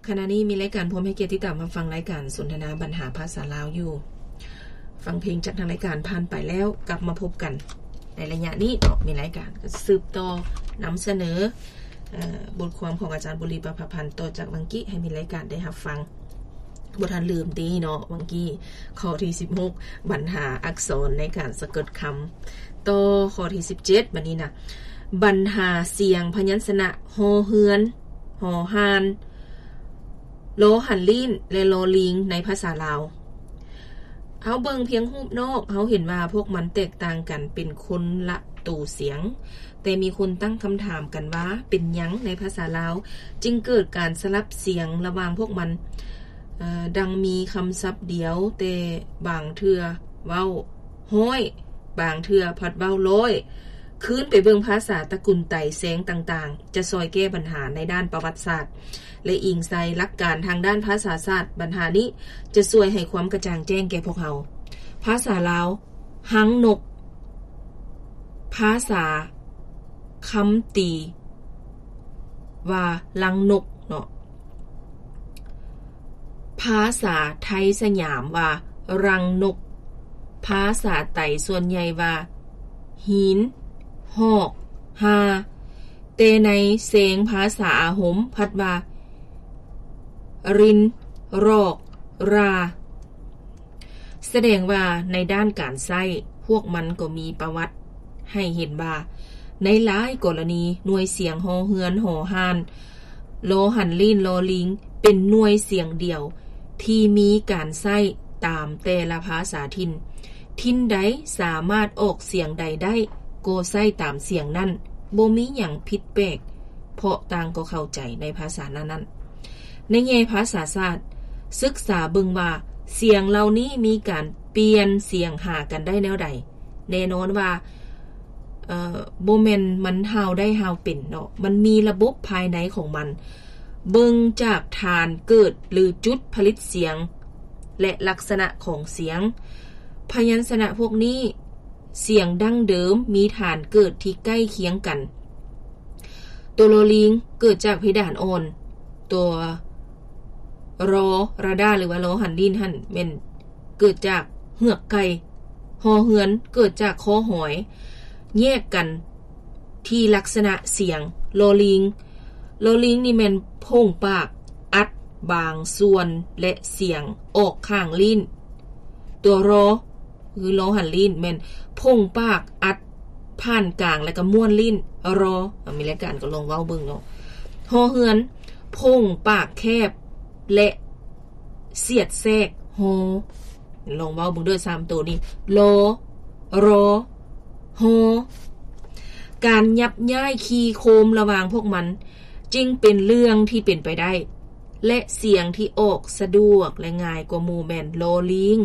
ຂະນະນີ້ມີລາຍການ ພ້ອມໃຫ້ກຽດຕິດຕາມຮັບຟັງລາຍການສົນທະນາບັນຫາພາສາລາວຢູ່. ຟັງເພງຈາກທາງລາຍການຜ່ານໄປແລ້ວ ກັບມາພົບກັນໃນໄລຍະນີ້ເນາະ. ມີລາຍການກໍສືບຕໍ່ນຳສະເໜີ ເອີ ບົດຄວາມຂອງອາຈານບຸລີ ປະພາພັນ ຕໍ່ຈາກວັງກີ້ ໃຫ້ມີລາຍການໄດ້ຮັບຟັງ. ບໍ່ທັນລືມຕິເນາະ ວັງກີ້ ຂໍ້ທີສິບຫົກ ບັນຫາອັກສອນໃນການສະກົດຄຳ. ຕໍ່ຂໍ້ທີສິບເຈັດ ບັດນີ້ນະ ບັນຫາສຽງພະຍັນຊະນະ ຫໍເຮືອນ, ຫໍຫ່ານ, ລໍຫັນລີ້ນ ແລະ ລໍລີງ ໃນພາສາລາວ. ເຮົາເບິ່ງພຽງຮູບນອກ ເຮົາເຫັນວ່າພວກມັນແຕກຕ່າງກັນເປັນຄົນລະໂຕສຽງ, ແຕ່ມີຄົນຕັ້ງຄຳຖາມກັນວ່າ ເປັນຫຍັງໃນພາສາລາວຈຶ່ງເກີດການສະຫຼັບສຽງລະຫວ່າງພວກມັນ? ເອີ ດັ່ງມີຄຳສັບດຽວ ແຕ່ບາງເທື່ອເວົ້າຮ້ອຍ, ບາງເທື່ອພັດເວົ້າຮ້ອຍ. ຄືນໄປເບິ່ງພາສາຕະກຸນໄຕແຊງຕ່າງໆ ຈະຊ່ອຍແກ້ບັນຫາໃນດ້ານປະຫວັດສາດ ແລະ ອີງໃສ່ຫຼັກການທາງດ້ານພາສາສາດ. ບັນຫານີ້ຈະຊ່ວຍໃຫ້ຄວາມກະຈ່າງແຈ້ງແກ່ພວກເຮົາ. ພາສາລາວ ຮັງນົກ, ພາສາຄຳຕີວ່າລັງນົກເນາະ, ພາສາໄທສະຫຍາມວ່າລັງນົກ, ພາສາໄຕສ່ວນໃຫຍ່ວ່າຫີນ, ຮອກ, ຮາ, ແຕ່ໃນແຊງພາສາອາຫົມພັດວ່າລິນ, ຣອກ, ຣາ. ສະແດງວ່າໃນດ້ານການໃຊ້ ພວກມັນກໍມີປະຫວັດໃຫ້ເຫັນວ່າ ໃນຫຼາຍກໍລະນີ ໜ່ວຍສຽງ ຫໍເຮືອນ, ຫໍຫ່ານ, ລໍຫັນລີ້ນ, ລໍລີງ ເປັນໜ່ວຍສຽງດຽວທີ່ມີການໃຊ້ຕາມແຕ່ລະພາສາຖິ່ນ. ຖິ່ນໃດສາມາດອອກສຽງໃດໄດ້ ກໍໃຊ້ຕາມສຽງນັ້ນ, ບໍ່ມີຫຍັງຜິດແປກ ເພາະຕ່າງກໍເຂົ້າໃຈໃນພາສານັ້ນໆ. ໃນແງ່ພາສາສາດ, ສຶກສາເບິ່ງວ່າສຽງເຫຼົ່ານີ້ມີການປ່ຽນສຽງຫາກັນໄດ້ແນວໃດ? ແນ່ນອນວ່າ ເອີ ບໍ່ແມ່ນມັນຫ່າວໄດ້ຫ່າວເປັນເນາະ, ມັນມີລະບົບພາຍໃນຂອງມັນ. ເບິ່ງຈາກຖານເກີດ ຫຼື ຈຸດຜະລິດສຽງ ແລະ ລັກສະນະຂອງສຽງ. ພະຍັນຊະນະພວກນີ້ ສຽງດັ້ງເດີມມີຖານເກີດທີ່ໃກ້ຄຽງກັນ. ຕົວລໍລີງເກີດຈາກເພດານອ່ອນ, ຕົວລໍ ຣະດາ ຫຼືວ່າລໍຫັນລີ້ນຫັ້ນແມ່ນເກີດຈາກເຫືອກໄກ່, ຫໍເຮືອນເກີດຈາກຄໍຫອຍ, ແຍກກັນທີ່ລັກສະນະສຽງ. ລໍລີງ, ລໍລີງນີ້ແມ່ນໂພງປາກອັດບາງສ່ວນ ແລະ ສຽງອອກຂ້າງລີ້ນ. ຕົວລໍ ຄືລໍຫັນລີ້ນ ແມ່ນໂພງປາກອັດຜ່ານກາງ ແລ້ວກໍມ້ວນລີ້ນ ລໍ. ເອົາ ມີລາຍການກໍລອງເວົ້າເບິ່ງເນາະ. ຫໍເຮືອນ ໂພງປາກແຄບ ແລະ ສຽດແຊກ ຫໍ. ລອງເວົ້າເບິ່ງເດີ ສາມໂຕນີ້ ລໍ ລໍ ຫໍ. ການຫຍັບຍ້າຍຄີ່ໂຄມລະຫວ່າງພວກມັນ ຈຶ່ງເປັນເລື່ອງທີ່ເປັນໄປໄດ້ ແລະ ສຽງທີ່ອອກສະດວກ ແລະ ງ່າຍກວ່າໝູ່ແມ່ນລໍລີງ.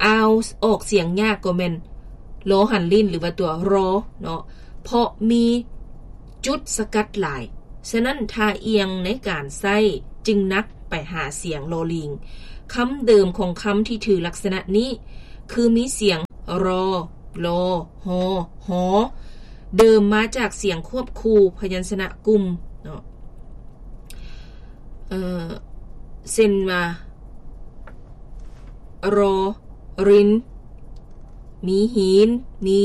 ອາວ ອອກສຽງຍາກກໍແມ່ນລໍຫັນລີ້ນ ຫຼືວ່າຕົວລໍເນາະ ເພາະມີຈຸດສະກັດຫຼາຍ. ສະນັ້ນ ທ່າອ່ຽງໃນການໃຊ້ຈຶ່ງໜັກໄປຫາສຽງລໍລີງ. ຄຳເດີມຂອງຄຳທີ່ຖືລັກສະນະນີ້ ຄືມີສຽງ ລໍ ລໍ ຫໍ ຫໍ ເດີມມາຈາກສຽງຄວບຄູ່ພະຍັນຊະນະກຸ່ມເນາະ. ເອີ ເຊັ່ນວ່າ ລໍ ຣິນ ມີຫີນ ມີ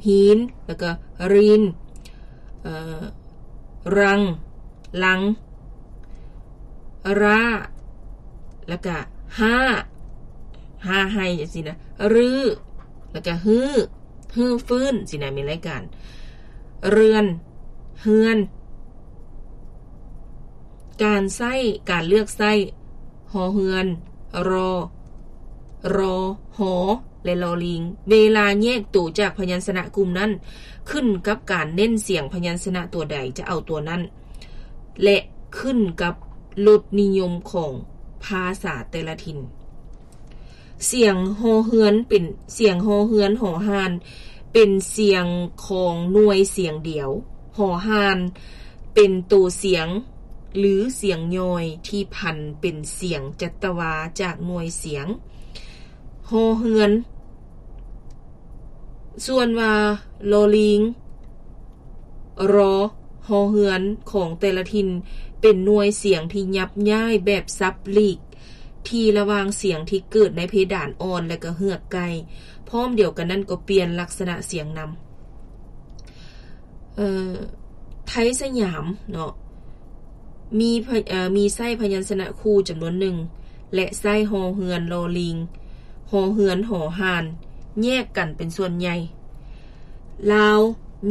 ຫີນ ແລ້ວກໍຣີນ ເອີ ຣັງ ລັງ ຣາ ແລ້ວກະຮາ ຮາໄຮ່ຈັ່ງຊີ້ນະ ຮື້ ແລ້ວກະຮື້ ຮື້ຟື້ນຊີ້ນະ ມີລາຍການ ເຮືອນ ເຮືອນ. ການໃຊ້ ການເລືອກໃຊ້ ຫໍເຮືອນ ລໍ ລໍ ຫໍ ແລະ ລໍລີງ ເວລາແຍກໂຕຈາກພະຍັນຊະນະກຸ່ມນັ້ນ ຂຶ້ນກັບການເນັ້ນສຽງພະຍັນຊະນະຕົວໃດຈະເອົາຕົວນັ້ນ ແລະ ຂຶ້ນກັບລົດນິຍົມຂອງພາສາແຕ່ລະຖິ່ນ. ສຽງຫໍເຮືອນເປັນ ສຽງຫໍເຮືອນ ຫໍຫ່ານ ເປັນສຽງຂອງໜ່ວຍສຽງດຽວ. ຫໍຫ່ານ ເປັນໂຕສຽງ ຫຼື ສຽງຍ່ອຍທີ່ຜັນເປັນສຽງຈັດຕະວາຈາກໜ່ວຍສຽງ ຫໍເຮືອນ. ສ່ວນວ່າລໍລີງ ລໍ ຫໍເຮືອນຂອງແຕ່ລະຖິ່ນ ເປັນໜ່ວຍສຽງທີ່ຫຍັບຍ້າຍແບບສັບຫຼີກ ທີ່ລະຫວ່າງສຽງທີ່ເກີດໃນເພດານອ່ອນ ແລະ ກໍເຮືອກໃກ້. ພ້ອມດຽວກັນນັ້ນກໍປ່ຽນລັກສະນະສຽງນຳ. ເອີ ໄທສະຫຍາມເນາະ ມີພະ ເອີ ມີໃຊ້ພະຍັນຊະນະຄູ່ຈຳນວນໜຶ່ງ ແລະ ໃຊ້ ຮໍເຮືອນ ລໍລີງ ຮໍເຮືອນ ຫໍຫ່ານ ແຍກກັນເປັນສ່ວນໃຫຍ່. ລາວ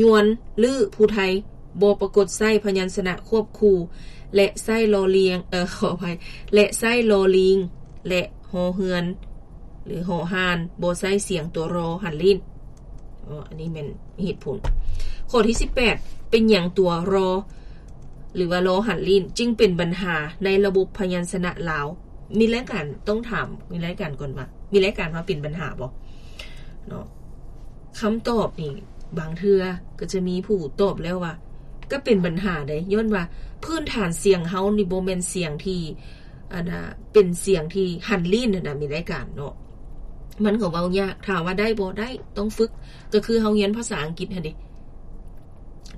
ຍວນ ຫຼື ຜູ້ໄທ ບໍ່ປາກົດໃຊ້ພະຍັນຊະນະຄວບຄູ່ ແລະ ໃຊ້ລໍລຽງ ເອີ ຂໍອະໄພ ແລະ ໃຊ້ລໍລີງ ແລະ ຮໍເຮືອນ ຫຼື ຫໍຫ່ານ ບໍ່ໃຊ້ສຽງຕົວ ຣໍ ຫັນລີ້ນ. ເອີ ອັນນີ້ແມ່ນເຫດຜົນ. ຂໍ້ທີສິບແປດ ເປັນຫຍັງຕົວ ຣໍ ຫຼືວ່າ ລໍ ຫັນລີ້ນ ຈຶ່ງເປັນບັນຫາໃນລະບົບພະຍັນຊະນະລາວ? ມີລາຍການຕ້ອງຖາມ ມີລາຍການກ່ອນວ່າ ມີລາຍການວ່າເປັນບັນຫາບໍ່ເນາະ? ຄຳຕອບນີ້ ບາງເທື່ອກໍຈະມີຜູ້ຕອບແລ້ວວ່າ ກໍເປັນບັນຫາເດ້ ຍ້ອນວ່າພື້ນຖານສຽງເຮົານີ້ບໍ່ແມ່ນສຽງທີ່ ອັນນ່າ ເປັນສຽງທີ່ຫັນລີ້ນຫັ້ນນະ ມີລາຍການເນາະ. ມັນກໍເວົ້າຍາກ ຖາມວ່າໄດ້ບໍ່? ໄດ້ ຕ້ອງຝຶກ ກໍຄືເຮົາຮຽນພາສາອັງກິດຫັ້ນເດ້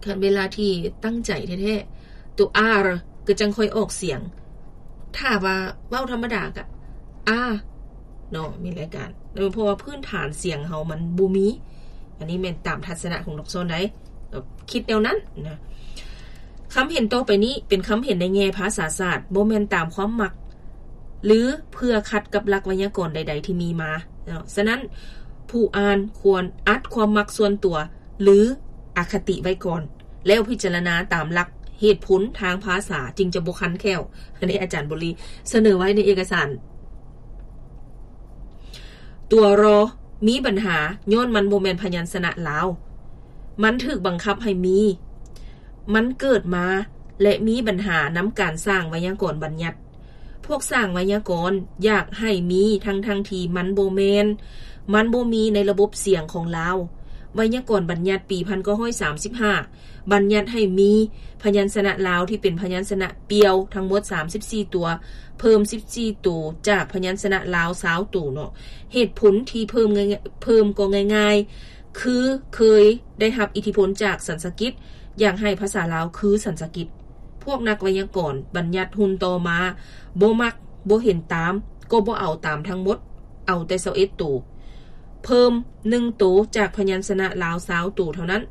ຄັນເວລາທີ່ຕັ້ງໃຈແທ້ໆ ຕົວ R ກໍຈັ່ງຄ່ອຍອອກສຽງ. ຖ້າວ່າເວົ້າທຳມະດາກໍ R ເນາະ ມີລາຍການ ເອີ ເພາະວ່າພື້ນຖານສຽງເຮົາມັນບໍ່ມີ. ອັນນີ້ແມ່ນຕາມທັດສະນະຂອງນັກສອນໃດ ກໍຄິດແນວນັ້ນນະ. ຄຳເຫັນຕໍ່ໄປນີ້ເປັນຄຳເຫັນໃນແງ່ພາສາສາດ, ບໍ່ແມ່ນຕາມຄວາມມັກ ຫຼື ເພື່ອຂັດກັບຫຼັກໄວຍາກອນໃດໆທີ່ມີມາເນາະ. ສະນັ້ນ, ຜູ້ອ່ານຄວນອັດຄວາມມັກສ່ວນຕົວ ຫຼື ອະຄະຕິໄວ້ກ່ອນ, ແລ້ວພິຈາລະນາຕາມຫຼັກເຫດຜົນທາງພາສາ ຈຶ່ງຈະບໍ່ຄັນແຂ້ວ. ອັນນີ້ອາຈານບົວລີສະເໜີໄວ້ໃນເອກະສານ. ຕົວ ຣໍ ມີບັນຫາ ຍ້ອນມັນບໍ່ແມ່ນພະຍັນຊະນະລາວ. ມັນຖືກບັງຄັບໃຫ້ມີ. ມັນເກີດມາ ແລະ ມີບັນຫານຳການສ້າງໄວຍາກອນບັນຍັດ. ພວກສ້າງໄວຍາກອນຢາກໃຫ້ມີ ທັງໆທີ່ມັນບໍ່ແມ່ນ. ມັນບໍ່ມີໃນລະບົບສຽງຂອງລາວ. ໄວຍາກອນບັນຍັດປີພັນເກົ້າຮ້ອຍສາມສິບຫ້າ ບັນຍັດໃຫ້ມີພະຍັນຊະນະລາວທີ່ເປັນພະຍັນຊະນະປ່ຽວທັງໝົດສາມສິບສີ່ຕົວ, ເພີ່ມສິບສີ່ໂຕຈາກພະຍັນຊະນະລາວຊາວໂຕເນາະ. ເຫດຜົນທີ່ເພີ່ມງ່າຍໆ ເພີ່ມກໍງ່າຍໆ ຄືເຄີຍໄດ້ຮັບອິດທິພົນຈາກສັນສະກິດ, ຢາກໃຫ້ພາສາລາວຄືສັນສະກິດ. ພວກນັກໄວຍາກອນບັນຍັດຮຸ່ນຕໍ່ມາ ບໍ່ມັກ, ບໍ່ເຫັນຕາມ, ກໍບໍ່ເອົາຕາມທັງໝົດ, ເອົາແຕ່ຊາວເອັດໂຕ. ເພີ່ມໜຶ່ງໂຕຈາກພະຍັນຊະນະລາວຊາວໂຕເທົ່ານັ້ນ.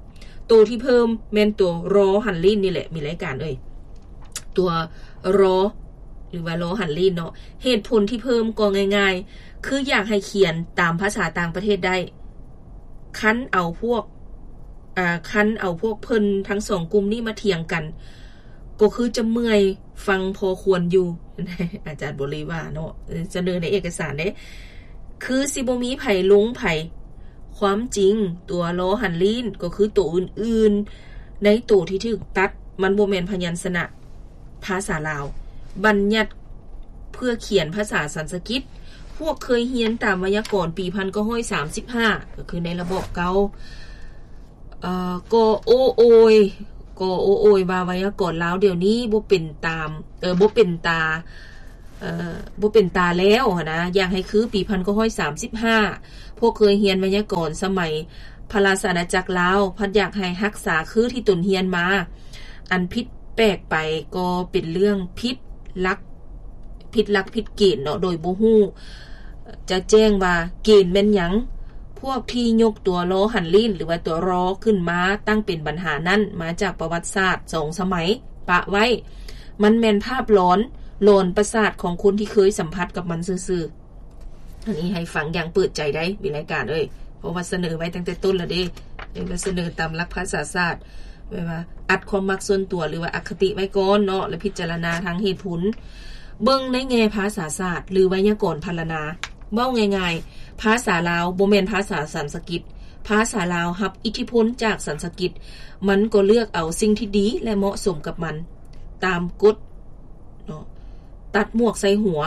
ໂຕທີ່ເພີ່ມແມ່ນຕົວ ຣໍ ຫັນລີ້ນນີ້ແຫຼະ ມີລາຍການເອີຍ. ຕົວ ຣໍ ຫຼືວ່າ ລໍ ຫັນລີ້ນເນາະ. ເຫດຜົນທີ່ເພີ່ມກໍງ່າຍໆ ຄືຢາກໃຫ້ຂຽນຕາມພາສາຕ່າງປະເທດໄດ້. ຄັນເອົາພວກ ອາ ຄັນເອົາພວກເພິ່ນທັງສອງກຸ່ມນີ້ມາຖຽງກັນ ກໍຄືຈະເມື່ອຍຟັງພໍຄວນຢູ່. ອາຈານບົວລີວ່າເນາະ ສະເໜີໃນເອກະສານເດ້ ຄືຊິບໍ່ມີໃຜລົງໃຜ. ຄວາມຈິງ ຕົວ ລໍ ຫັນລີ້ນ ກໍຄືໂຕອື່ນໆ ໃນໂຕທີ່ຖືກຕັດ ມັນບໍ່ແມ່ນພະຍັນຊະນະ ພາສາລາວ ບັນຍັດເພື່ອຂຽນພາສາສັນສະກິດ. ພວກເຄີຍຮຽນຕາມໄວຍາກອນປີພັນເກົ້າຮ້ອຍສາມສິບຫ້າ ກໍຄືໃນລະບອບເກົ່າ ເອີ ກໍໂອ້ໂອຍ ກໍໂອ້ໂອຍວ່າໄວຍາກອນລາວດຽວນີ້ບໍ່ເປັນຕາມ ເອີ ບໍ່ເປັນຕາ ເອີ ບໍ່ເປັນຕາແລ້ວຫັ້ນນະ ຢາກໃຫ້ຄືປີພັນເກົ້າຮ້ອຍສາມສິບຫ້າ. ພວກເຄີຍຮຽນໄວຍາກອນສະໄໝພະລາຊະອານາຈັກລາວ ພັດຢາກໃຫ້ຮັກສາຄືທີ່ຕົນຮຽນມາ. ອັນຜິດແປກໄປກໍເປັນເລື່ອງຜິດຫຼັກ ຜິດຫຼັກຜິດເກນເນາະ ໂດຍບໍ່ຮູ້ ຈະແຈ້ງວ່າເກນແມ່ນຫຍັງ. ພວກທີ່ຍົກຕົວ ລໍ ຫັນລີ້ນ ຫຼືວ່າຕົວ ຣໍ ຂຶ້ນມາຕັ້ງເປັນບັນຫານັ້ນ ມາຈາກປະຫວັດສາດສອງສະໄໝປະໄວ້. ມັນແມ່ນພາບຫຼອນ ຫຼອນປະສາດຂອງຄົນທີ່ເຄີຍສຳຜັດກັບມັນຊື່ໆ. ອັນນີ້ໃຫ້ຟັງຢ່າງເປີດໃຈໄດ້ ມີລາຍການເອີຍ ເພາະວ່າສະເໜີໄວ້ຕັ້ງແຕ່ຕົ້ນແລ້ວເດ້ ເອີ ສະເໜີຕາມຫຼັກພາສາສາດ ແບບວ່າອັດຄວາມມັກສ່ວນຕົວ ຫຼືວ່າອະຄະຕິໄວ້ກ່ອນເນາະ ແລະ ພິຈາລະນາທາງເຫດຜົນ. ເບິ່ງໃນແງ່ພາສາສາດ ຫຼື ໄວຍາກອນພັນລະນາ ເວົ້າງ່າຍໆ ພາສາລາວບໍ່ແມ່ນພາສາສັນສະກິດ. ພາສາລາວຮັບອິດທິພົນຈາກສັນສະກິດ ມັນກໍເລືອກເອົາສິ່ງທີ່ດີ ແລະ ເໝາະສົມກັບມັນ ຕາມກົດເນາະ ຕັດໝວກໃສ່ຫົວ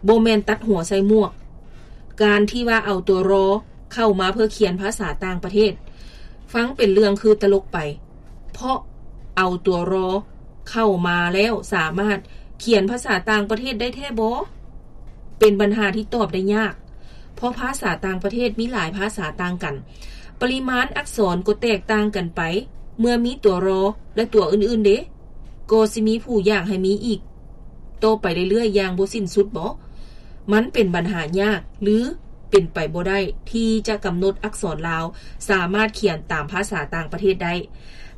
ບໍ່ແມ່ນຕັດຫົວໃສ່ໝວກ. ການທີ່ວ່າເອົາຕົວ ຣໍ ເຂົ້າມາເພື່ອຂຽນພາສາຕ່າງປະເທດ ຟັງເປັນເລື່ອງຄືຕະຫຼົກໄປ ເພາະເອົາຕົວ ຣໍ ເຂົ້າມາແລ້ວສາມາດຂຽນພາສາຕ່າງປະເທດໄດ້ແທ້ບໍ? ເປັນບັນຫາທີ່ຕອບໄດ້ຍາກ ເພາະພາສາຕ່າງປະເທດມີຫຼາຍພາສາຕ່າງກັນ ປະລິມານອັກສອນກໍແຕກຕ່າງກັນໄປ ເມື່ອມີຕົວ ຣໍ ແລະ ຕົວອື່ນໆເດ. ກໍຊິມີຜູ້ຢາກໃຫ້ມີອີກຕໍ່ໄປເລື້ອຍໆຢ່າງບໍ່ສິ້ນສຸດບໍ? ມັນເປັນບັນຫາຍາກ ຫຼື ເປັນໄປບໍ່ໄດ້ທີ່ຈະກຳນົດອັກສອນລາວສາມາດຂຽນຕາມພາສາຕ່າງປະເທດໄດ້.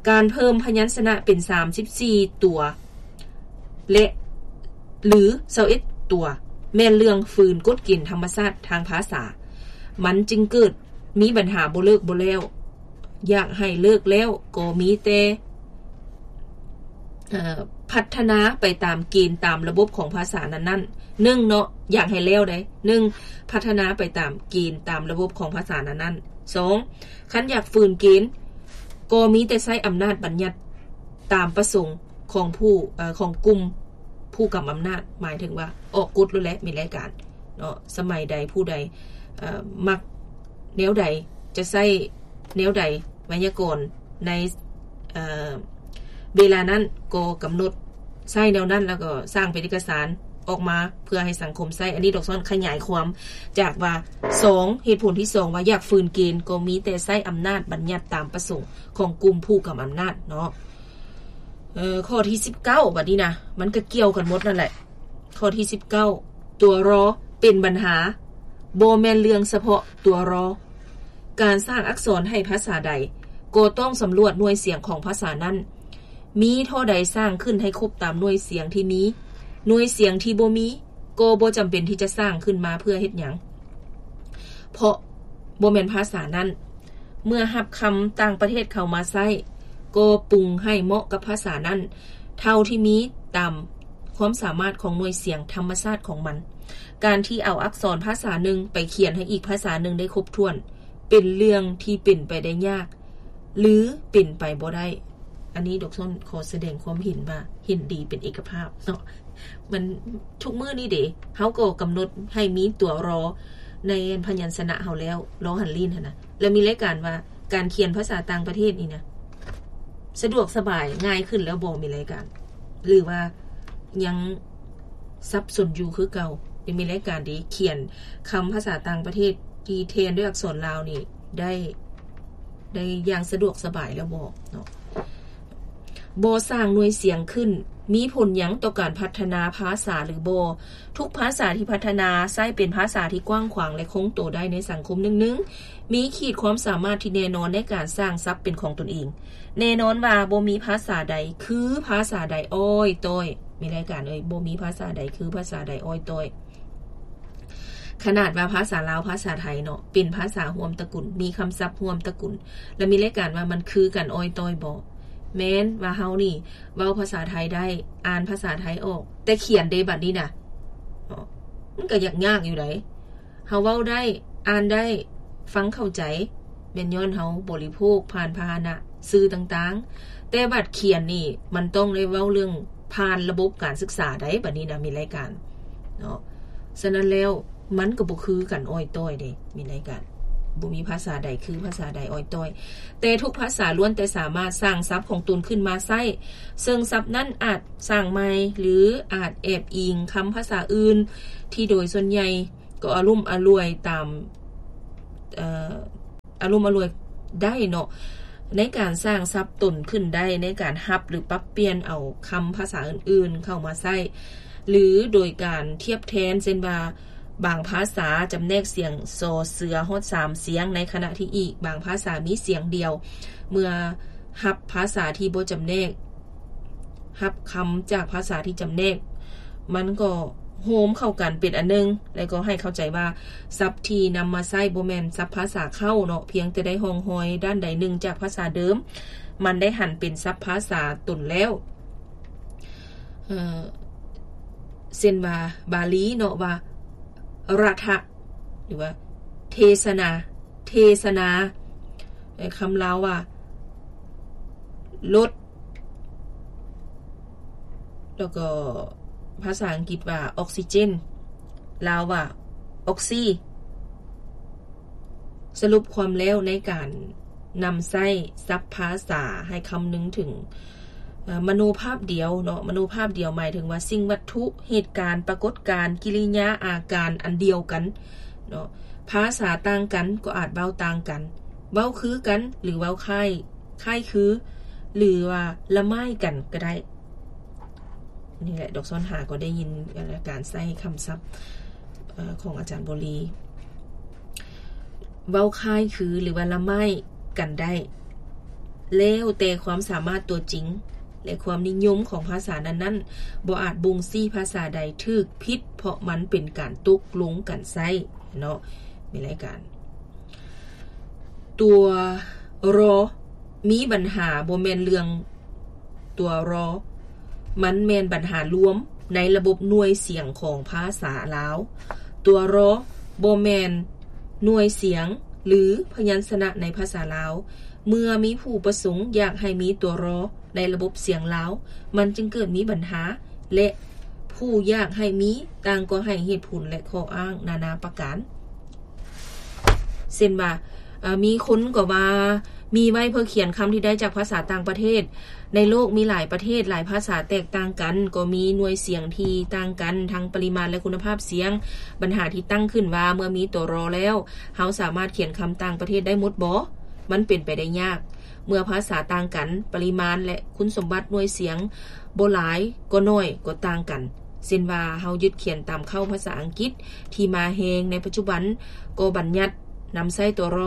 ການເພີ່ມພະຍັນຊະນະເປັນສາມສິບສີ່ຕົວ ແລະ ຫຼື ຊາວເອັດຕົວ ແມ່ນເລື່ອງຝືນກົດເກນທຳມະຊາດທາງພາສາ. ມັນຈຶ່ງເກີດມີບັນຫາບໍ່ເລີກບໍ່ແລ້ວ. ຢາກໃຫ້ເລີກແລ້ວກໍມີແຕ່ ເອີ ພັດທະນາໄປຕາມເກນຕາມລະບົບຂອງພາສານັ້ນໆ. ໜຶ່ງເນາະ, ຢາກໃຫ້ແລ້ວໃດ. ໜຶ່ງ, ພັດທະນາໄປຕາມເກນຕາມລະບົບຂອງພາສານັ້ນໆ. ສອງ, ຄັນຢາກຝືນເກນ ກໍມີແຕ່ໃຊ້ອຳນາດບັນຍັດຕາມປະສົງຂອງຜູ້ ເອີ ຂອງກຸ່ມຜູ້ກຳອຳນາດ, ໝາຍເຖິງວ່າອອກກົດໂລດແຫຼະ ມີລາຍການເນາະ. ສະໄໝໃດຜູ້ໃດ ເອີ ມັກແນວໃດ ຈະໃຊ້ແນວໃດ ໄວຍາກອນໃນ ເອີ ເວລານັ້ນກໍກຳນົດໃຊ້ແນວນັ້ນ ແລ້ວກໍສ້າງເປັນເອກະສານອອກມາເພື່ອໃຫ້ສັງຄົມໃຊ້. ອັນນີ້ດອກຊ້ອນຂະຫຍາຍຄວາມຈາກວ່າ ສອງ ເຫດຜົນທີສອງ ວ່າຢາກຝືນເກນ ກໍມີແຕ່ໃຊ້ອຳນາດບັນຍັດຕາມປະສົງຂອງກຸ່ມຜູ້ກຳອຳນາດເນາະ. ເອີ ຂໍ້ທີສິບເກົ້າ ບັດນີ້ນະ ມັນກໍກ່ຽວກັນໝົດນັ້ນແຫຼະ. ຂໍ້ທີສິບເກົ້າ ຕົວລໍເປັນບັນຫາ, ບໍ່ແມ່ນເລື່ອງສະເພາະຕົວລໍ. ການສ້າງອັກສອນໃຫ້ພາສາໃດ ກໍຕ້ອງສຳຫຼວດໜ່ວຍສຽງຂອງພາສານັ້ນ, ມີທໍ່ໃດສ້າງຂຶ້ນໃຫ້ຄົບຕາມໜ່ວຍສຽງທີ່ມີ, ໜ່ວຍສຽງທີ່ບໍ່ມີ ກໍບໍ່ຈຳເປັນທີ່ຈະສ້າງຂຶ້ນມາເພື່ອເຮັດຫຍັງ ເພາະບໍ່ແມ່ນພາສານັ້ນ. ເມື່ອຮັບຄຳຕ່າງປະເທດເຂົ້າມາໃຊ້ ກໍປຸງໃຫ້ເໝາະກັບພາສານັ້ນເທົ່າທີ່ມີຕາມຄວາມສາມາດຂອງໜ່ວຍສຽງທຳມະຊາດຂອງມັນ. ການທີ່ເອົາອັກສອນພາສາໜຶ່ງໄປຂຽນໃຫ້ອີກພາສາໜຶ່ງໄດ້ຄົບຖ້ວນ ເປັນເລື່ອງທີ່ເປັນໄປໄດ້ຍາກ ຫຼື ເປັນໄປບໍ່ໄດ້. ອັນນີ້ດອກຊ້ອນຂໍສະແດງຄວາມເຫັນວ່າເຫັນດີເປັນເອກະພາບເນາະ. ມັນ ທຸກມື້ນີ້ເດ ເຮົາກໍກຳນົດໃຫ້ມີຕົວລໍໃນພະຍັນຊະນະເຮົາແລ້ວ, ລໍຫັນລີ້ນຫັ້ນນະ. ແລ້ວມີລາຍການວ່າການຂຽນພາສາຕ່າງປະເທດນີ້ນະ ສະດວກສະບາຍງ່າຍຂຶ້ນແລ້ວບໍ່? ມີລາຍການ ຫຼືວ່າຍັງສັບສົນຢູ່ຄືເກົ່າ? ຍັງມີລາຍການທີ່ຂຽນຄຳພາສາຕ່າງປະເທດທີ່ແທນດ້ວຍອັກສອນລາວນີ້ໄດ້ ໄດ້ຢ່າງສະດວກສະບາຍແລ້ວບໍ່ເນາະ? ບໍ່ສ້າງໜ່ວຍສຽງຂຶ້ນ ມີຜົນຫຍັງຕໍ່ການພັດທະນາພາສາຫຼືບໍ່? ທຸກພາສາທີ່ພັດທະນາໃຊ້ເປັນພາສາທີ່ກວ້າງຂວາງ ແລະ ຄົງໂຕໄດ້ໃນສັງຄົມໜຶ່ງໆ, ມີຂີດຄວາມສາມາດທີ່ແນ່ນອນໃນການສ້າງສັບເປັນຂອງຕົນເອງ. ແນ່ນອນວ່າບໍ່ມີພາສາໃດຄືພາສາໃດອ້ອຍຕ້ອຍ. ມີລາຍການເອີຍ, ບໍ່ມີພາສາໃດຄືພາສາໃດອ້ອຍຕ້ອຍ. ຂະໜາດວ່າພາສາລາວ ພາສາໄທເນາະ ເປັນພາສາຮ່ວມຕະກຸນ, ມີຄຳສັບຮ່ວມຕະກຸນ, ແລະ ມີລາຍການວ່າມັນຄືກັນອ້ອຍຕ້ອຍບໍ່? ແມ່ນວ່າເຮົານີ້ເວົ້າພາສາໄທໄດ້, ອ່ານພາສາໄທອອກ, ແຕ່ຂຽນເດ ບັດນີ້ນະ ເນາະ ມັນກໍຍາກໆຢູ່ໃດ. ເຮົາເວົ້າໄດ້, ອ່ານໄດ້, ຟັງເຂົ້າໃຈ, ແມ່ນຍ້ອນເຮົາບໍລິໂພກຜ່ານພາຫະນະສື່ຕ່າງໆ, ແຕ່ບັດຂຽນນີ້ ມັນຕ້ອງໄດ້ເວົ້າເລື່ອງຜ່ານລະບົບການສຶກສາໃດ໋. ບັດນີ້ນະ ມີລາຍການເນາະ, ສະນັ້ນແລ້ວ ມັນກໍບໍ່ຄືກັນອ້ອຍຕ້ອຍເດ້. ມີລາຍການ ບໍ່ມີພາສາໃດຄືພາສາໃດອ້ອຍຕ້ອຍ, ແຕ່ທຸກພາສາລ້ວນແຕ່ສາມາດສ້າງສັບຂອງຕົນຂຶ້ນມາໃຊ້, ເຊິ່ງສັບນັ້ນອາດສ້າງໃໝ່ ຫຼື ອາດແອບອີງຄຳພາສາອື່ນ ທີ່ໂດຍສ່ວນໃຫຍ່ ກໍອາລຸມອາລວຍຕາມ ເອີ ອາລຸມອາລວຍໄດ້ເນາະ ໃນການສ້າງສັບຕົນຂຶ້ນໄດ້ ໃນການຮັບ ຫຼື ປັບປ່ຽນເອົາຄຳພາສາອື່ນໆເຂົ້າມາໃຊ້ ຫຼື ໂດຍການທຽບແທນ ເຊັ່ນວ່າ ບາງພາສາຈຳແນກສຽງ ຊ ເສືອ ຮອດສາມສຽງ ໃນຂະນະທີ່ອີກບາງພາສາມີສຽງດຽວ. ເມື່ອຮັບພາສາທີ່ບໍ່ຈຳແນກ ຮັບຄຳຈາກພາສາທີ່ຈຳແນກ ມັນກໍໂຮມເຂົ້າກັນເປັນອັນໜຶ່ງ ແລະ ກໍໃຫ້ເຂົ້າໃຈວ່າສັບທີ່ນຳມາໃຊ້ບໍ່ແມ່ນສັບພາສາເຄົ້າເນາະ, ພຽງແຕ່ໄດ້ຮ່ອງຮອຍດ້ານໃດໜຶ່ງຈາກພາສາເດີມ, ມັນໄດ້ຫັນເປັນສັບພາສາຕົນແລ້ວ. ເອີ ເຊັ່ນວ່າບາລີເນາະ ວ່າຣະທະ ຫຼືວ່າເທສະນາ ເທສະນາ, ແລະ ຄຳລາວວ່າລົດ ແລ້ວກໍພາສາອັງກິດວ່າອອກຊີເຈນ, ລາວວ່າອອກຊີ. ສະຫຼຸບຄວາມແລ້ວໃນການນຳໃຊ້ສັບພາສາໃຫ້ຄຳນຶງເຖິງ ເອີ ມະໂນພາບດຽວເນາະ, ມະໂນພາບດຽວໝາຍເຖິງວ່າສິ່ງວັດຖຸ, ເຫດການ, ປາກົດການ, ກິລິຍາອາການອັນດຽວກັນເນາະ. ພາສາຕ່າງກັນກໍອາດເວົ້າຕ່າງກັນ, ເວົ້າຄືກັນ ຫຼື ເວົ້າຄ້າຍ, ຄ້າຍຄື ຫຼືວ່າລະໝ້າຍກັນກໍໄດ້. ນີ້ແຫຼະ ດອກຊອນຫາກໍໄດ້ຍິນການໃຊ້ຄຳສັບຂອງອາຈານບໍລີ ເວົ້າຄ້າຍຄື ຫຼືວ່າລະໄມ້ກັນໄດ້ ແລ້ວແຕ່ຄວາມສາມາດຕົວຈິງ ແລະ ຄວາມນິຍົມຂອງພາສານັ້ນໆ ບໍ່ອາດບົ່ງຊີ້ພາສາໃດຖືກຜິດ ເພາະມັນເປັນການຕົກລົງກັນໃຊ້ເນາະ ມີລາຍການ ຕົວ ຣ ມີບັນຫາບໍ່ແມ່ນເລື່ອງຕົວ ຣ ມັນແມ່ນບັນຫາລວມໃນລະບົບໜ່ວຍສຽງຂອງພາສາລາວ. ຕົວ ຣ ບໍ່ແມ່ນໜ່ວຍສຽງ ຫຼື ພະຍັນຊະນະໃນພາສາລາວ. ເມື່ອມີຜູ້ປະສົງຢາກໃຫ້ມີຕົວ ຣ ໃນລະບົບສຽງລາວ ມັນຈຶ່ງເກີດມີບັນຫາ ແລະ ຜູ້ຢາກໃຫ້ມີຕ່າງກໍໃຫ້ເຫດຜົນ ແລະ ຂໍ້ອ້າງນານາປະການ. ເຊັ່ນວ່າ ເອີ ມີຄົນກໍວ່າມີໄວ້ເພື່ອຂຽນຄຳທີ່ໄດ້ຈາກພາສາຕ່າງປະເທດ. ໃນໂລກມີຫຼາຍປະເທດ, ຫຼາຍພາສາແຕກຕ່າງກັນ, ກໍມີໜ່ວຍສຽງທີ່ຕ່າງກັນ ທັງປະລິມານ ແລະ ຄຸນນະພາບສຽງ. ບັນຫາທີ່ຕັ້ງຂຶ້ນວ່າ ເມື່ອມີຕົວ ຣ ແລ້ວ ເຮົາສາມາດຂຽນຄຳຕ່າງປະເທດໄດ້ໝົດບໍ? ມັນເປັນໄປໄດ້ຍາກ. ເມື່ອພາສາຕ່າງກັນ, ປະລິມານ ແລະ ຄຸນສົມບັດໜ່ວຍສຽງ ບໍ່ຫຼາຍກໍໜ້ອຍກໍຕ່າງກັນ. ເຊັ່ນວ່າ ເຮົາຍຶດຂຽນຕາມເຄົ້າພາສາອັງກິດທີ່ມາແຮງໃນປັດຈຸບັນ ກໍບັນຍັດນຳໃຊ້ຕົວ ຣ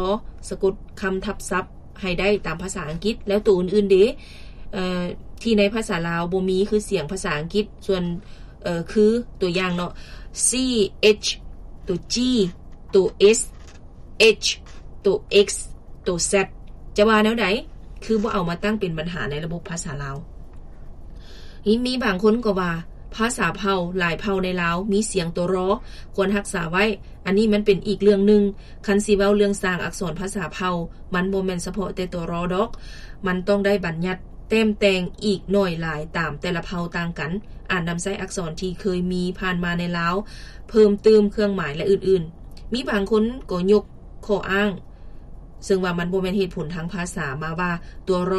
ສະກົດຄຳທັບສັບໃຫ້ໄດ້ຕາມພາສາອັງກິດ. ແລ້ວໂຕອື່ນໆເດ? ເອີ ທີ່ໃນພາສາລາວບໍ່ມີ ຄືສຽງພາສາອັງກິດ ສ່ວນ ເອີ ຄື ຕົວຢ່າງເນາະ ຊີເອັດ ໂຕຈີ ໂຕເອັສ ເອັດ ໂຕເອັກ ໂຕແຊັດ ຈະວ່າແນວໃດ? ຄືບໍ່ເອົາມາຕັ້ງເປັນບັນຫາໃນລະບົບພາສາລາວ. ມີບາງຄົນກໍວ່າ ພາສາເຜົ່າຫຼາຍເຜົ່າໃນລາວມີສຽງຕົວ ຣ ຄວນຮັກສາໄວ້. ອັນນີ້ມັນເປັນອີກເລື່ອງໜຶ່ງ. ຄັນຊິເວົ້າເລື່ອງສ້າງອັກສອນພາສາເຜົ່າ ມັນບໍ່ແມ່ນສະເພາະແຕ່ຕົວ ຣ ດອກ. ມັນຕ້ອງໄດ້ບັນຍັດແຕ້ມແຕ່ງອີກໜ້ອຍຫຼາຍຕາມແຕ່ລະເຜົ່າຕ່າງກັນ. ອາດນຳໃຊ້ອັກສອນທີ່ເຄີຍມີຜ່ານມາໃນລາວ ເພີ່ມຕື່ມເຄື່ອງໝາຍ ແລະ ອື່ນໆ. ມີບາງຄົນກໍຍົກຂໍ້ອ້າງ ເຊິ່ງວ່າມັນບໍ່ແມ່ນເຫດຜົນທາງພາສາ ມາວ່າຕົວ ຣ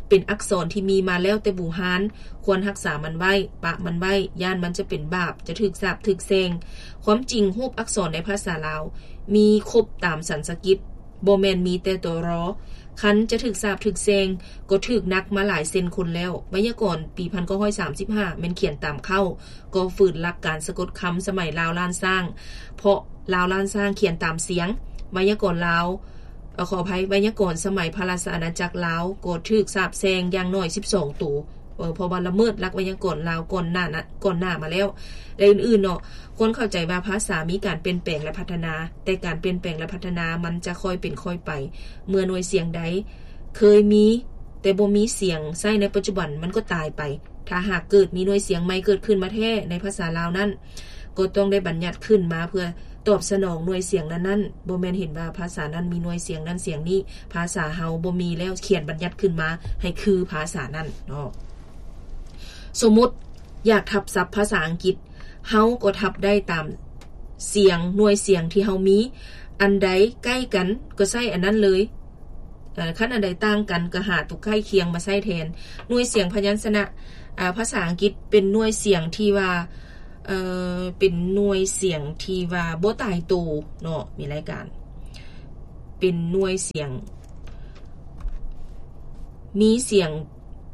ເປັນອັກສອນທີ່ມີມາແລ້ວແຕ່ບູຮານ ຄວນຮັກສາມັນໄວ້ ປະມັນໄວ້ ຢ້ານມັນຈະເປັນບາບ ຈະຖືກສາບຖືກແຊ່ງ. ຄວາມຈິງ ຮູບອັກສອນໃນພາສາລາວມີຄົບຕາມສັນສະກິດ ບໍ່ແມ່ນມີແຕ່ຕົວ ຣ. ຄັນຈະຖືກສາບຖືກແຊ່ງ ກໍຖືກໜັກມາຫຼາຍເຊັ່ນຄົນແລ້ວ. ໄວຍາກອນປີພັນເກົ້າຮ້ອຍສາມສິບຫ້າ ແມ່ນຂຽນຕາມເຄົ້າ ກໍຝືນຫຼັກການສະກົດຄຳສະໄໝລາວລ້ານຊ້າງ ເພາະລາວລ້ານຊ້າງຂຽນຕາມສຽງ. ໄວຍາກອນລາວ ເອີ ຂໍອະໄພ ໄວຍາກອນສະໄໝພະລາຊະອານາຈັກລາວ ກໍຖືກສາບແຊ່ງຢ່າງໜ້ອຍສິບສອງໂຕ ເພາະວ່າລະເມີດຫຼັກໄວຍາກອນລາວກ່ອນໜ້າ ກ່ອນໜ້າມາແລ້ວ ແລະ ອື່ນໆເນາະ. ຄວນເຂົ້າໃຈວ່າພາສາມີການປ່ຽນແປງ ແລະ ພັດທະນາ, ແຕ່ການປ່ຽນແປງ ແລະ ພັດທະນາມັນຈະຄ່ອຍເປັນຄ່ອຍໄປ. ເມື່ອໜ່ວຍສຽງໃດເຄີຍມີ ແຕ່ບໍ່ມີສຽງໃຊ້ໃນປັດຈຸບັນ ມັນກໍຕາຍໄປ. ຖ້າຫາກເກີດມີໜ່ວຍສຽງໃໝ່ເກີດຂຶ້ນມາແທ້ໃນພາສາລາວນັ້ນ ກໍຕ້ອງໄດ້ບັນຍັດຂຶ້ນມາເພື່ອຕອບສະໜອງໜ່ວຍສຽງນັ້ນໆ. ບໍ່ແມ່ນເຫັນວ່າພາສານັ້ນມີໜ່ວຍສຽງນັ້ນສຽງນີ້, ພາສາເຮົາບໍ່ມີແລ້ວ ຂຽນບັນຍັດຂຶ້ນມາໃຫ້ຄືພາສານັ້ນເນາະ. ສົມມຸດຢາກທັບສັບພາສາອັງກິດ ເຮົາກໍທັບໄດ້ຕາມສຽງ ໜ່ວຍສຽງທີ່ເຮົາມີ. ອັນໃດໃກ້ກັນກໍໃຊ້ອັນນັ້ນເລີຍ. ເອີ ຄັນອັນໃດຕ່າງກັນກໍຫາຕົວໃກ້ຄຽງມາໃຊ້ແທນ. ໜ່ວຍສຽງພະຍັນຊະນະ ອາ ພາສາອັງກິດເປັນໜ່ວຍສຽງທີ່ວ່າ ເອີ ເປັນໜ່ວຍສຽງທີ່ວ່າບໍ່ຕາຍໂຕເນາະ ມີລາຍການ ເປັນໜ່ວຍສຽງ ມີສຽງ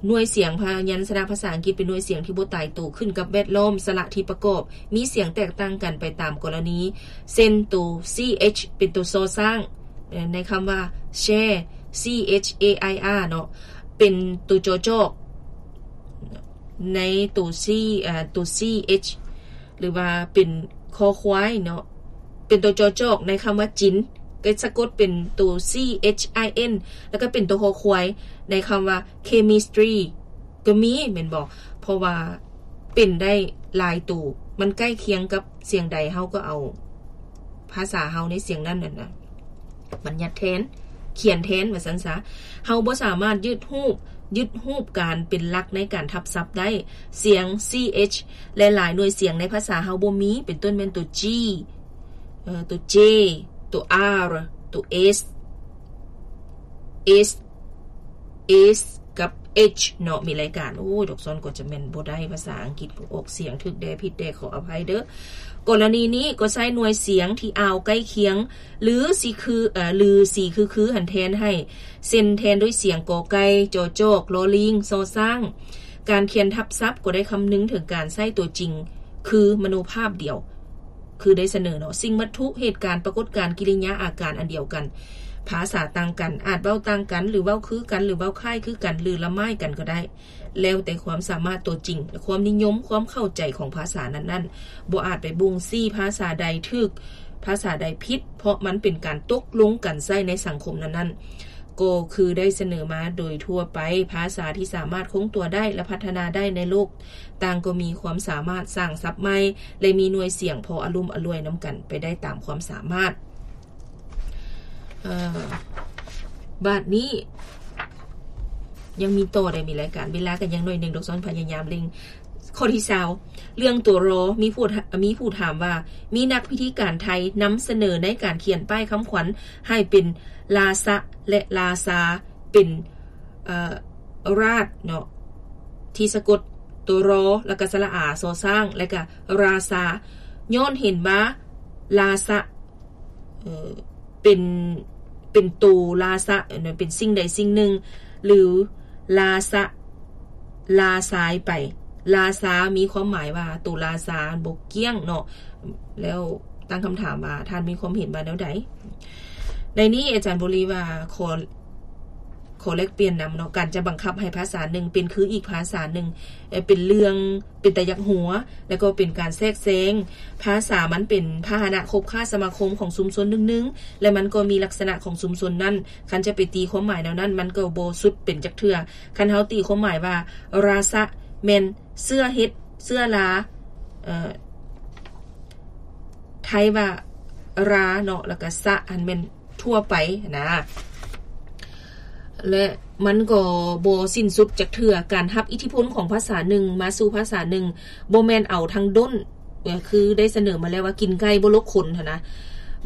ໜ່ວຍສຽງພະຍັນຊະນະພາສາອັງກິດເປັນໜ່ວຍສຽງທີ່ບໍ່ຕາຍໂຕ ຂຶ້ນກັບແວດລ້ອມສະຫຼະທີ່ປະກອບ ມີສຽງແຕກຕ່າງກັນໄປຕາມກໍລະນີ ເຊັ່ນ ໂຕ ຊີເອັດ ເປັນໂຕຊໍຊ້າງ ໃນຄຳວ່າ ແຊ ຊີເອັດ ເອ ໄອ ອາ ເນາະ ເປັນໂຕຈອຈອກ ໃນໂຕຊີ ເອີ ໂຕ ຊີເອັດ ຫຼືວ່າເປັນຄໍຄວາຍເນາະ ເປັນໂຕຈອຈອກໃນຄຳວ່າຈິນ ກໍສະກົດເປັນໂຕ ຊີເອັດ ໄອ ເອັນ ແລ້ວກໍເປັນໂຕຄໍຄວາຍໃນຄຳວ່າເຄມິສຕຣີ ກໍມີແມ່ນບໍ່? ເພາະວ່າເປັນໄດ້ຫຼາຍໂຕ ມັນໃກ້ຄຽງກັບສຽງໃດ ເຮົາກໍເອົາພາສາເຮົາໃນສຽງນັ້ນນັ້ນນະ ບັນຍັດແທນ ຂຽນແທນວ່າຊັ້ນຊະ. ເຮົາບໍ່ສາມາດຍຶດຮູບ ຍຶດຮູບການເປັນຫຼັກໃນການທັບສັບໄດ້. ສຽງ ຊີເອັດ ແລະ ຫຼາຍໜ່ວຍສຽງໃນພາສາເຮົາບໍ່ມີ ເປັນຕົ້ນແມ່ນໂຕ ຈີ ເອີ ໂຕ ເຈ ໂຕ ອາ ໂຕ ເອສ ເອສ ເອສ ກັບ ເອັດ ເນາະ ມີລາຍການ. ໂອ້ຍ ດອກຊອນກໍຈະແມ່ນບໍ່ໄດ້ພາສາອັງກິດ ອອກສຽງຖືກແດ່ຜິດແດ່ ຂໍອະໄພເດີ້. ກໍລະນີນີ້ກໍໃຊ້ໜ່ວຍສຽງທີ່ອ່າວໃກ້ຄຽງ ຫຼື ຊິຄື ເອີ ຫຼື ຊິຄືໆຫັ້ນແທນໃຫ້ ເຊັ່ນ ແທນດ້ວຍສຽງ ກ ໄກ່ ຈ ຈອກ ລໍ ລີງ ຊ ຊ້າງ. ການຂຽນທັບສັບກໍໄດ້ຄຳນຶງເຖິງການໃຊ້ຕົວຈິງ ຄືມະໂນພາບດຽວ ຄືໄດ້ສະເໜີເນາະ ສິ່ງວັດຖຸ, ເຫດການ, ປາກົດການ, ກິລິຍາອາການອັນດຽວກັນ. ພາສາຕ່າງກັນ, ອາດເວົ້າຕ່າງກັນ ຫຼື ເວົ້າຄືກັນ ຫຼື ເວົ້າຄ້າຍຄືກັນ ຫຼື ລະໝ້າຍກັນກໍໄດ້. ແລ້ວແຕ່ຄວາມສາມາດຕົວຈິງ ແລະ ຄວາມນິຍົມ, ຄວາມເຂົ້າໃຈຂອງພາສານັ້ນໆ. ບໍ່ອາດໄປບົ່ງຊີ້ພາສາໃດຖືກ, ພາສາໃດຜິດ, ເພາະມັນເປັນການຕົກລົງກັນໃຊ້ໃນສັງຄົມນັ້ນໆ. ກໍຄືໄດ້ສະເໜີມາໂດຍທົ່ວໄປ, ພາສາທີ່ສາມາດຄົງຕົວໄດ້ ແລະ ພັດທະນາໄດ້ໃນໂລກ, ຕ່າງກໍມີຄວາມສາມາດສ້າງສັບໃໝ່ ແລະ ມີໜ່ວຍສຽງພໍອາລຸມອາລວຍນຳກັນໄປໄດ້ຕາມຄວາມສາມາດ. ເອີ ບາດນີ້ຍັງມີຕໍ່ໄດ້ ມີລາຍການ ເວລາກໍຍັງໜ້ອຍໜຶ່ງດອກ ຊ້ອນພະຍາຍາມເລັ່ງ. ຂໍ້ທີຊາວ ເລື່ອງຕົວ ຣ ມີຜູ້ ມີຜູ້ຖາມວ່າ ມີນັກພິທີການໄທນຳສະເໜີໃນການຂຽນປ້າຍຄຳຂວັນໃຫ້ເປັນລາຊະ ແລະ ລາຊາ ເປັນ ເອີ ລາດເນາະ ທີ່ສະກົດຕົວ ຣ ແລ້ວກໍສະຫຼະອາ ຊໍຊ້າງ ແລ້ວກໍລາຊາ ຍ້ອນເຫັນວ່າລາຊະ ເອີ ເປັນ ເປັນໂຕລາຊະ ເປັນສິ່ງໃດສິ່ງໜຶ່ງ ຫຼື ລາຊະ ລາຊາຍໄປ. ລາຊາມີຄວາມໝາຍວ່າໂຕລາຊາບໍ່ກ້ຽງເນາະ. ແລ້ວຕັ້ງຄຳຖາມວ່າ ທ່ານມີຄວາມເຫັນວ່າແນວໃດ? ໃນນີ້ອາຈານບົວລີວ່າ ຂໍ ຂໍແລກປ່ຽນນຳເນາະ ການຈະບັງຄັບໃຫ້ພາສາໜຶ່ງເປັນຄືອີກພາສາໜຶ່ງ ເປັນເລື່ອງເປັນຕາຢາກຫົວ ແລ້ວກໍເປັນການແຊກແຊງ. ພາສາມັນເປັນພາຫະນະຄົບຄ້າສະມາຄົມຂອງຊຸມຊົນໜຶ່ງໆ ແລະ ມັນກໍມີລັກສະນະຂອງຊຸມຊົນນັ້ນ. ຄັນຈະໄປຕີຄວາມໝາຍແນວນັ້ນ ມັນກໍບໍ່ສຸດເປັນຈັກເທື່ອ. ຄັນເຮົາຕີຄວາມໝາຍວ່າ ລາຊະ ແມ່ນເຊື້ອເຫັດ ເຊື້ອລາ ເອີ ໄທວ່າລາເນາະ ແລ້ວກໍຊະ ຫັ້ນແມ່ນທົ່ວໄປນະ ແລະ ມັນກໍບໍ່ສິ້ນສຸດຈັກເທື່ອ. ການຮັບອິດທິພົນຂອງພາສາໜຶ່ງມາສູ່ພາສາໜຶ່ງ ບໍ່ແມ່ນເອົາທັງດົ້ນ ຄືໄດ້ສະເໜີມາແລ້ວວ່າ ກິນໄກ່ບໍ່ລົກຄົນຫັ້ນນະ.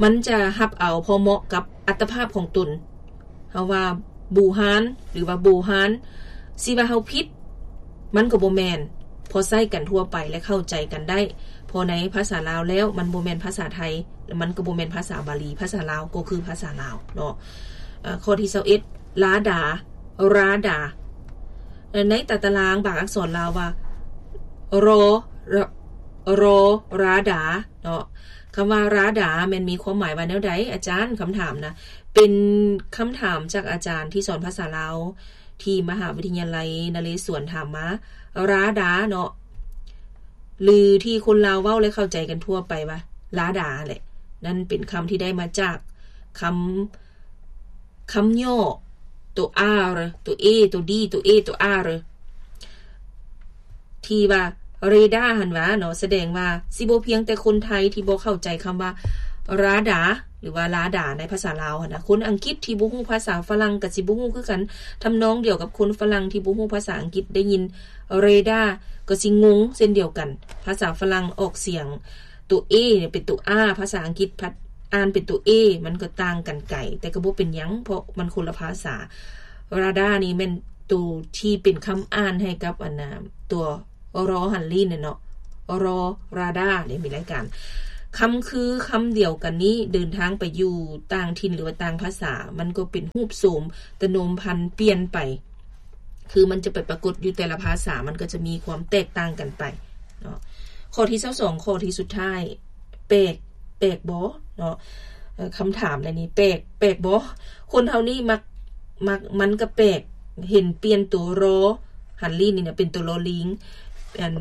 ມັນຈະຮັບເອົາພໍເໝາະກັບອັດຕະພາບຂອງຕົນ. ເຮົາວ່າບູຮານ ຫຼືວ່າໂບຮານ ຊິວ່າເຮົາຜິດ ມັນກໍບໍ່ແມ່ນ ເພາະໃຊ້ກັນທົ່ວໄປ ແລະ ເຂົ້າໃຈກັນໄດ້. ເພາະໃນພາສາລາວແລ້ວ ມັນບໍ່ແມ່ນພາສາໄທ ແລະ ມັນກໍບໍ່ແມ່ນພາສາບາລີ. ພາສາລາວກໍຄືພາສາລາວເນາະ. ເອີ ຂໍ້ທີຊາວເອັດ ລາດາ ລາດາ ໃນຕາຕະລາງບາງອັກສອນລາວວ່າ ຣ ຣ ລາດາເນາະ. ຄຳວ່າລາດາແມ່ນມີຄວາມໝາຍວ່າແນວໃດ ອາຈານ? ຄຳຖາມນະ ເປັນຄຳຖາມຈາກອາຈານທີ່ສອນພາສາລາວ ທີ່ມະຫາວິທະຍາໄລນະເຣສວນ ຖາມມາ ລາດາເນາະ ຫຼືທີ່ຄົນລາວເວົ້າ ແລະ ເຂົ້າໃຈກັນທົ່ວໄປວ່າ ລາດາແຫຼະ. ນັ້ນເປັນຄຳທີ່ໄດ້ມາຈາກຄຳ ຄຳຫຍໍ້ ໂຕ R ໂຕ A ໂຕ D ໂຕ A ໂຕ R ທີ່ວ່າເຣດາຫັ້ນຫວາເນາະ. ສະແດງວ່າຊິບໍ່ພຽງແຕ່ຄົນໄທທີ່ບໍ່ເຂົ້າໃຈຄຳວ່າລາດາ ຫຼືວ່າລາດາໃນພາສາລາວຫັ້ນນະ, ຄົນອັງກິດທີ່ບໍ່ຮູ້ພາສາຝຣັ່ງກໍຊິບໍ່ຮູ້ຄືກັນ. ທຳນອງດຽວກັບຄົນຝຣັ່ງທີ່ບໍ່ຮູ້ພາສາອັງກິດ ໄດ້ຍິນເຣດາກໍຊິງົງເຊັ່ນດຽວກັນ. ພາສາຝຣັ່ງອອກສຽງ ຕົວ A ເປັນຕົວ R ພາສາອັງກິດພັດອ່ານເປັນຕົວ A ມັນກໍຕ່າງກັນໄກ, ແຕ່ກໍບໍ່ເປັນຫຍັງ ເພາະມັນຄົນລະພາສາ. ລາດານີ້ແມ່ນໂຕທີ່ເປັນຄຳອ່ານໃຫ້ກັບອັນນ່າ ຕົວ ຣ ຫັນລີ້ນເນາະ, ຣ ລາດາເດ້. ມີລາຍການຄຳຄືຄຳດຽວກັນນີ້ ເດີນທາງໄປຢູ່ຕ່າງຖິ່ນ ຫຼືວ່າຕ່າງພາສາ ມັນກໍເປັນຮູບໂສມ ຕະໂນມພັນປ່ຽນໄປ. ຄືມັນຈະໄປປາກົດຢູ່ແຕ່ລະພາສາ ມັນກໍຈະມີຄວາມແຕກຕ່າງກັນໄປເນາະ. ຂໍ້ທີຊາວສອງ ຂໍ້ທີ່ສຸດທ້າຍ ແປກ ແປກບໍ່ເນາະ? ເອີ ຄຳຖາມໃນນີ້ ແປກ ແປກບໍ່? ຄົນເຮົານີ້ມັກ ມັກ ມັນກໍແປກ ເຫັນປ່ຽນຕົວ ຣ ຫັນລີ້ນນີ້ນະ ເປັນຕົວ ລໍລີງ ອັນ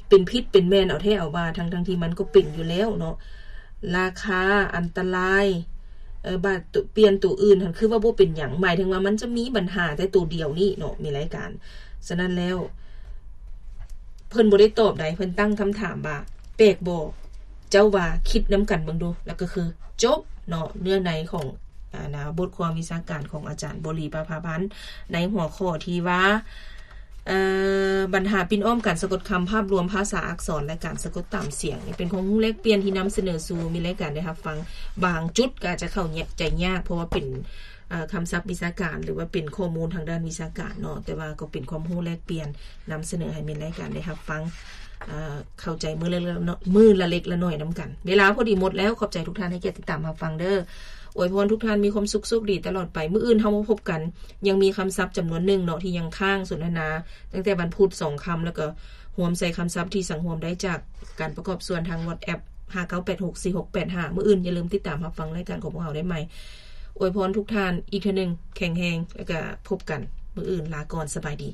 ເປັນຜິດເປັນແມ່ນເອົາແທ້ເອົາວ່າ ທັງໆທີ່ມັນກໍເປັນຢູ່ແລ້ວເນາະ. ລາຄາ ອັນຕະລາຍ ເອີ ບາດ ໂຕ ປ່ຽນໂຕອື່ນຫັ້ນ ຄືວ່າບໍ່ເປັນຫຍັງ, ໝາຍເຖິງວ່າມັນຈະມີບັນຫາແຕ່ໂຕດຽວນີ້ເນາະ ມີລາຍການ. ສະນັ້ນແລ້ວ ເພິ່ນບໍ່ໄດ້ຕອບໃດ, ເພິ່ນຕັ້ງຄຳຖາມວ່າ ແປກບໍ່? ເຈົ້າວ່າຄິດນຳກັນເບິ່ງດູ. ແລ້ວກໍຄືຈົບເນາະ ເນື້ອໃນຂອງ ອ່າ ນະ ບົດຄວາມວິຊາການຂອງອາຈານບົວລີ ປະພາພັນ ໃນຫົວຂໍ້ທີ່ວ່າ ເອີ ບັນຫາປິ່ນອ້ອມການສະກົດຄຳ, ພາບລວມພາສາອັກສອນ ແລະ ການສະກົດຕາມສຽງ. ນີ້ເປັນຄວາມຮູ້ແລກປ່ຽນທີ່ນຳສະເໜີສູ່ມີລາຍການໄດ້ຮັບຟັງ. ບາງຈຸດກໍອາດຈະເຂົ້າໃຈຍາກ ເພາະວ່າເປັນ ເອີ ຄຳສັບວິຊາການ ຫຼືວ່າເປັນຂໍ້ມູນທາງດ້ານວິຊາການເນາະ, ແຕ່ວ່າກໍເປັນຄວາມຮູ້ແລກປ່ຽນນຳສະເໜີໃຫ້ມີລາຍການໄດ້ຮັບຟັງ. ເຂົ້າໃຈມື້ລະ ມື້ລະເລັກລະໜ້ອຍນຳກັນ. ເວລາພໍດີໝົດແລ້ວ. ຂອບໃຈທຸກທ່ານໃຫ້ກຽດຕິດຕາມຮັບຟັງເດີ້. ອວຍພອນທຸກທ່ານມີຄວາມສຸກ ໂຊກດີຕະຫຼອດໄປ. ມື້ອື່ນເຮົາມາພົບກັນ, ຍັງມີຄຳສັບຈຳນວນໜຶ່ງເນາະ ທີ່ຍັງຄ້າງສົນທະນາຕັ້ງແຕ່ວັນພຸດສອງຄ່ຳ ແລ້ວກໍຮວມໃສ່ຄຳສັບທີ່ສັງຮວມໄດ້ຈາກການປະກອບສ່ວນທາງ WhatsApp ຫ້າເກົ້າແປດຫົກສີ່ຫົກແປດຫ້າ. ມື້ອື່ນຢ່າລືມຕິດຕາມຮັບຟັງລາຍການຂອງພວກເຮົາໄດ້ໃໝ່. ອວຍພອນທຸກທ່ານອີກເທື່ອໜຶ່ງ, ແຂງແຮງ ແລ້ວກະພົບກັນມື້ອື່ນ. ລາກ່ອນ, ສະບາຍດີ.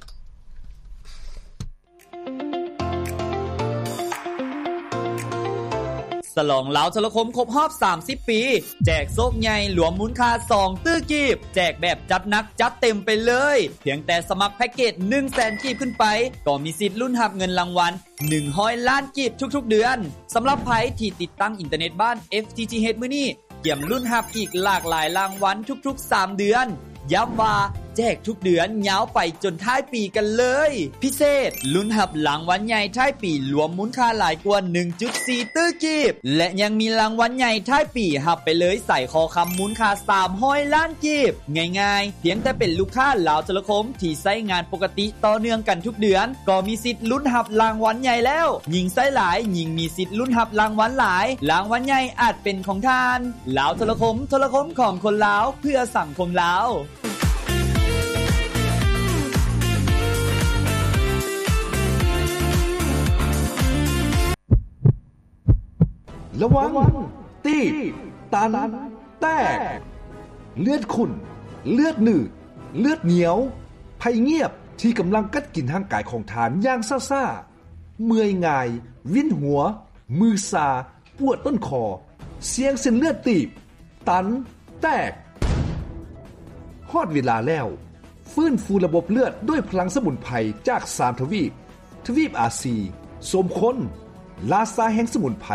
ສະຫຼອງລາວໂທລະຄົມຄົບຮອບສາມສິບປີ ແຈກໂຊກໃຫຍ່ລວມມູນຄ່າສອງຕື້ກີບ, ແຈກແບບຈັດໜັກຈັດເຕັມໄປເລີຍ. ພຽງແຕ່ສະໝັກແພັກເກດໜຶ່ງແສນກີບຂຶ້ນໄປ ກໍມີສິດລຸ້ນຮັບເງິນລາງວັນໜຶ່ງຮ້ອຍລ້ານກີບທຸກໆເດືອນ. ສຳລັບໃຜທີ່ຕິດຕັ້ງອິນເຕີເນັດບ້ານ FTTH ມື້ນີ້ ກຽມລຸ້ນຮັບອີກຫຼາກຫຼາຍລາງວັນທຸກໆສາມເດືອນ. ຢ້ຳວ່າແຈກທຸກເດືອນຍາວໄປຈົນທ້າຍປີກັນເລີຍ. ພິເສດ, ລຸ້ນຮັບລາງວັນໃຫຍ່ທ້າຍປີລວມມູນຄ່າຫຼາຍກວ່າໜຶ່ງຈຸດສີ່ຕື້ກີບ ແລະ ຍັງມີລາງວັນໃຫຍ່ທ້າຍປີຮັບໄປເລີຍສາຍຄໍຄຳມູນຄ່າສາມຮ້ອຍລ້ານກີບ. ງ່າຍໆ, ພຽງແຕ່ເປັນລູກຄ້າລາວໂທລະຄົມທີ່ໃຊ້ງານປົກກະຕິຕໍ່ເນື່ອງກັນທຸກເດືອນ ກໍມີສິດລຸ້ນຮັບລາງວັນໃຫຍ່ແລ້ວ. ຍິ່ງໃຊ້ຫຼາຍ, ຍິ່ງມີສິດລຸ້ນຮັບລາງວັນຫຼາຍ. ລາງວັນໃຫຍ່ອາດເປັນຂອງທ່ານ. ລາວໂທລະຄົມ, ໂທລະຄົມຂອງຄົນລາວ, ເພື່ອສັງຄົມລາວ. ລະວັງ ຕີບ ຕັນ ແຕກ. ເລືອດຂຸ້ນ, ເລືອດໜືດ, ເລືອດໜຽວ, ໄພງຽບທີ່ກຳລັງກັດກິນຮ່າງກາຍຂອງທ່ານຢ່າງຊ້າໆ, ເມື່ອຍງ່າຍ, ວິນຫົວ, ມືຊາ, ປວດຕົ້ນຄໍ, ສ່ຽງເສັ້ນເລືອດຕີບ, ຕັນ, ແຕກ. ຮອດເວລາແລ້ວ. ຟື້ນຟູລະບົບເລືອດດ້ວຍພະລັງສະໝຸນໄພຈາກສາມທະວີບ, ທະວີບອາຊີ, ສົມຄົນ, ລາຊາແຫ່ງສະໝຸນໄພ,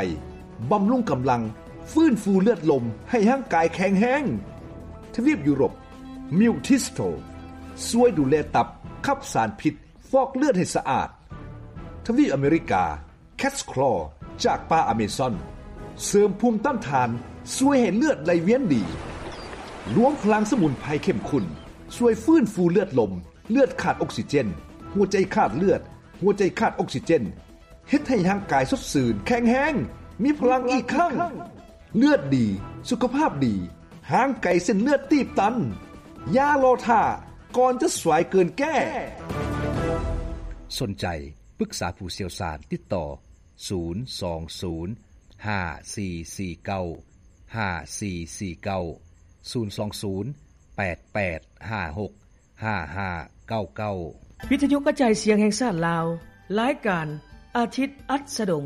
ບຳລຸງກຳລັງ, ຟື້ນຟູເລືອດລົມໃຫ້ຮ່າງກາຍແຂງແຮງ. ທະວີບຢູໂຣບ, ມິວທິສໂຕ, ຊ່ວຍດູແລຕັບ, ຂັບສານພິດ, ຟອກເລືອດໃຫ້ສະອາດ. ທະວີບອາເມລິກາ, ແຄດສະຄລໍຈາກປ່າອາເມຊອນ ເສີມພູມຕ້ານທານ, ຊ່ວຍໃຫ້ເລືອດໄຫຼວຽນດີ. ລວມພະລັງສະໝຸນໄພເຂັ້ມຂຸ້ນ, ຊ່ວຍຟື້ນຟູເລືອດລົມ, ເລືອດຂາດອົກຊີເຈນ, ຫົວໃຈຂາດເລືອດ, ຫົວໃຈຂາດອົກຊີເຈນ, ເຮັດໃຫ້ຮ່າງກາຍສົດຊື່ນ, ແຂງແຮງ, ມີພະລັງອີກຄັ້ງ. ເລືອດດີ, ສຸຂະພາບດີ, ຫ່າງໄກເສັ້ນເລືອດຕີບຕັນ. ຢ່າລໍຖ້າ, ກ່ອນຈະສວາຍເກີນແກ້. ສົນໃຈ ປຶກສາຜູ້ຊ່ຽວຊານ, ຕິດຕໍ່ ສູນສອງສູນ ຫ້າສີ່ສີ່ເກົ້າ ຫ້າສີ່ສີ່ເກົ້າ, ສູນສອງສູນ ແປດແປດຫ້າຫົກ ຫ້າຫ້າເກົ້າເກົ້າ. ວິທະຍຸກະຈາຍສຽງແຫ່ງຊາດລາວ, ລາຍການ ອາທິດອັດສະດົງ.